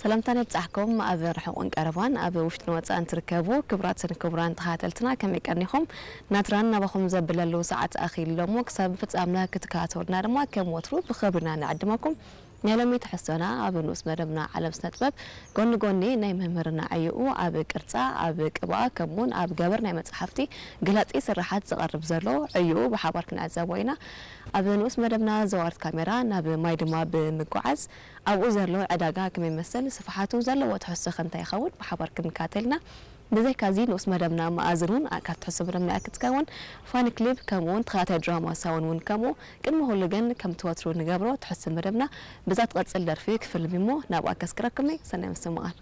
ሰላምታና ይብጻሕኩም። ኣብ ርሑቕን ቀረባን፣ ኣብ ውሽጥን ወጻእን ትርከቡ ክቡራትን ክቡራን ተኸታተልትና፣ ከመይ ቀኒኹም? ናትራን ናባኹም ዘብለሉ ሰዓት ኣኺሉ እሞ፣ ክሳብ ፍጻምና ክትከታተሉና ድማ ከም ወትሩ ብኽብሪ ኢና ንዕድመኩም። ናይ ሎሚ ትሕዝቶና ኣብ ንኡስ መደብና ዓለም ስነ ጥበብ፣ ጎኒ ጎኒ ናይ መምህርና ዕዮኡ ኣብ ቅርጻ፣ ኣብ ቅብኣ፣ ከምኡውን ኣብ ገበር ናይ መጻሕፍቲ ገላጺ ስርሓት ዝቐርብ ዘሎ ዕዮኡ ብሓባር ክንዕዘቦ ኢና። ኣብ ንኡስ መደብና ዘዋርት ካሜራ ናብ ማይ ድማ ብምጉዓዝ፣ ኣብኡ ዘሎ ዕዳጋ ከመይ ይመስል፣ ስፍሓቱ ዘለዎ ትሕዝቶ ከ እንታይ ይኸውን፣ ብሓባር ክንከታተል ኢና። ብዘይካዚ ንኡስ መደብና መኣዝን እውን ካብ ትሕዝቶ መደብና እያ ክትከውን። ፋን ክሊብ ከምኡ እውን ተኸታታይ ድራማ ሳውን እውን ከምኡ። ቅድሚ ኩሉ ግን ከምቲ ወትሩ ንገብሮ ትሕዝቶ መደብና ብዛ ትቐጽል ደርፊ ክፍልም እሞ ናብኣ ከስክረኩም እየ። ሰናይ ምስትምቓር።